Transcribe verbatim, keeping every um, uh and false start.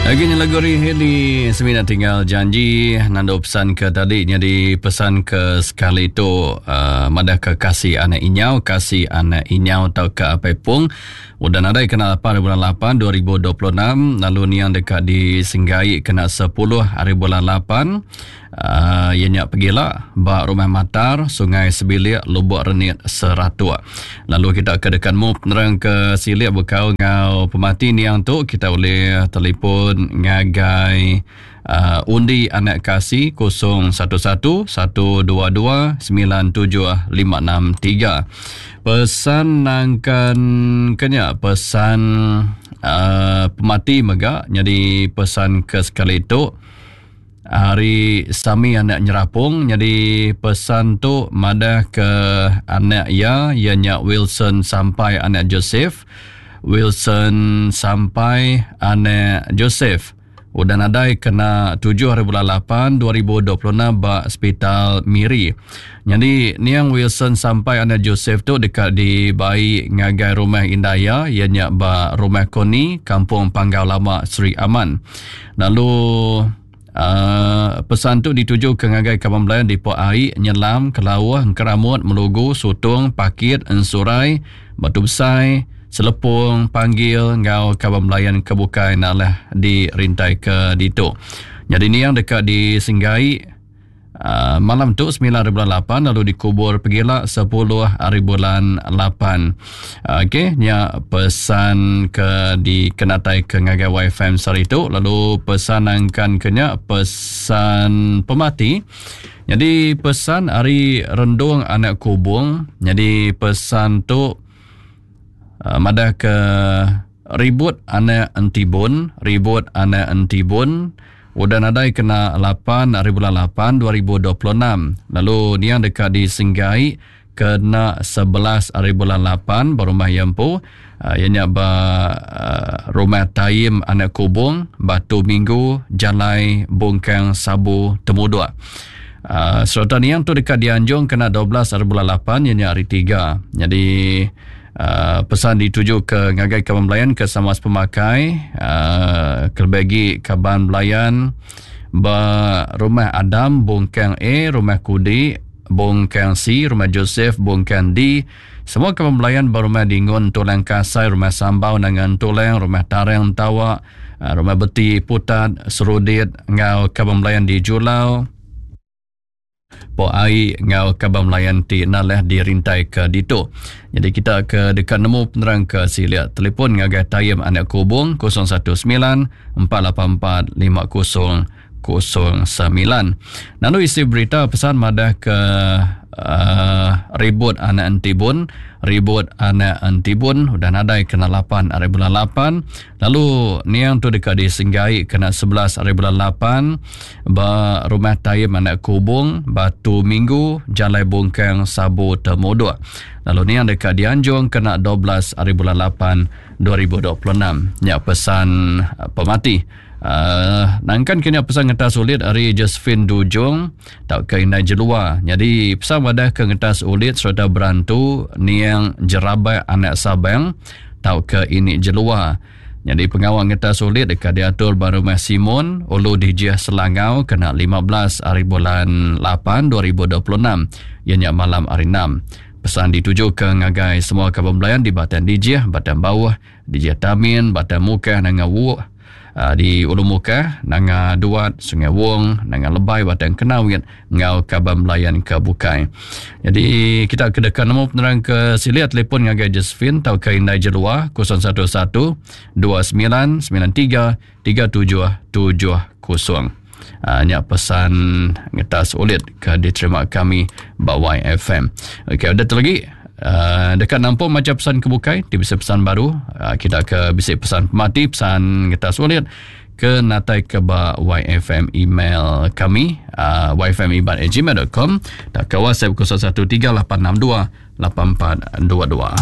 Agi nya lagu ari Hailey semina tinggal janji nandu pesan ke tadi nyadi pesan ke sekali tu uh, madah ke kasih anak inyau kasih anak inyau tau ke apai pung udah nadai kena lapan hari bulan lapan dua ribu dua puluh enam lalu niang deka disenggai kena sepuluh hari bulan lapan uh, iya nya pegila ba Rumah Matar Sungai Sebilik Lubuk Renit Seratuk. Lalu kita ke dekat mu penerang ke silik bekau ngau pemati niang tu kita boleh telefon ngagai uh, undi anak kasih kosong satu satu satu dua dua sembilan tujuh lima enam tiga. Pesan nangkan kenya pesan uh, pemati mega jadi pesan ke sekali tu hari Sami anak nyerapung jadi pesan tu madah ke anak ia ia nya Wilson sampai anak Joseph Wilson sampai anak Joseph udah nadai kena tujuh hari bulan lapan dua ribu dua puluh enam ba Hospital Miri. Jadi niang Wilson sampai anak Joseph tu dekat dibai ngagai rumah Indaya ia nya ba Rumah Koni Kampung Panggau Lama Sri Aman. Lalu Uh, pesan tu dituju ke ngagai kaban belayan di Pok Ai, Nyelam, Kelauh, Engkeramut, Melugu, Sutong, Pakit, Ensurai, Batu Besai, Selepong, Panggil ngau kaban belayan ke bukai nalah di rintai ke ditu. Jadi ni yang dekat di Senggai uh, malam tu sembilan hari bulan lapan lalu dikubur pegila sepuluh hari bulan lapan. Okey, nya pesan ke dikenatai ke ngagai Y F M sehari tu lalu pesan angkan kenya pesan pemati. Jadi pesan ari Rendung anak Kubung. Jadi pesan tu uh, madah ke ribut anak Entibun, ribut anak Entibun udah nadai kena lapan hari bulan lapan dua ribu dua puluh enam. Lalu niang dekat disenggai kena sebelas hari bulan lapan berumah Yempu. Uh, ianya ba uh, Rumah Taim Anak Kubung, Batu Minggu, Jalai Bungkang Sabu Temuduk. Uh, serta niang tu dekat dianjung kena dua belas hari bulan lapan ianya hari tiga. Jadi Uh, pesan dituju ke ngagai kaban belayan ke sama pemakai uh, kelebih kaban belayan ba Rumah Adam Bungkang A, Rumah Kudi Bungkang C, Rumah Joseph Bungkang D, semua kaban belayan ba Rumah Dingun Tulang Kasai, Rumah Sambau Nangan Tulang, Rumah Tarang Tawa, uh, Rumah Beti Putat Serudit ngau kaban belayan di Julau Pok Ai ngau kaban melayan ti nalah dirintai ke ditu. Jadi kita ke dekat nemu penerang ke silia telefon ngagai Tayim anak Kubung kosong satu sembilan empat lapan empat lima kosong kosong sembilan. Lalu isi berita pesan madah ke uh, ribut anak Entibun, ribut anak Entibun udah nadai kena lapan hari bulan lapan. Lalu niang tu dekat disenggai kena sebelas hari bulan lapan ba Rumah Tayim anak Kubung, Batu Minggu, Jalai Bungkang Sabu Temuduk. Lalu niang dekat dianjung kena dua belas hari bulan lapan dua ribu dua puluh enam. Nya pesan pemati. Uh, nangkan kena pesan ngetas ulit hari Josephine Dujung tak ke Indai Jelua. Jadi pesan wadah ke ngetas ulit serta berantu niang Jerabai anak Sabang tak ke ini Jelua. Jadi pengawal ngetas ulit dekat diatur baru Rumah Simon Ulu Dijih Selangau kena lima belas hari bulan lapan dua ribu dua puluh enam ianya malam hari enam. Pesan dituju ke ngagai semua kaban belayan di Batang Dijih, Batang Bawah, Dijih Tamin, Batang Mukah, Nanga Wuk, Uh, di Ulu Mukah, Nanga Duat, Sungai Wong, Nanga Lebai, Batang Kenawit, ngau kaban belayan ke bukai. Jadi kita kedekan nemu penerang ke silia telefon ngagai Josephine tau ke Indai Jelua kosong satu satu dua sembilan sembilan tiga tiga tujuh tujuh kosong. Uh, nya pesan ngetas ulit ke diterima kami ba Y F M. Okey, ada lagi. Uh, dekat nampung macam pesan kebukai, di bisa pesan baru, uh, kita ke bisa pesan pemati, pesan ngetas ulit ke natai ke ba Y F M email kami, uh, y f m iban at gmail dot com dan ke WhatsApp kosong satu tiga lapan enam dua lapan empat dua dua.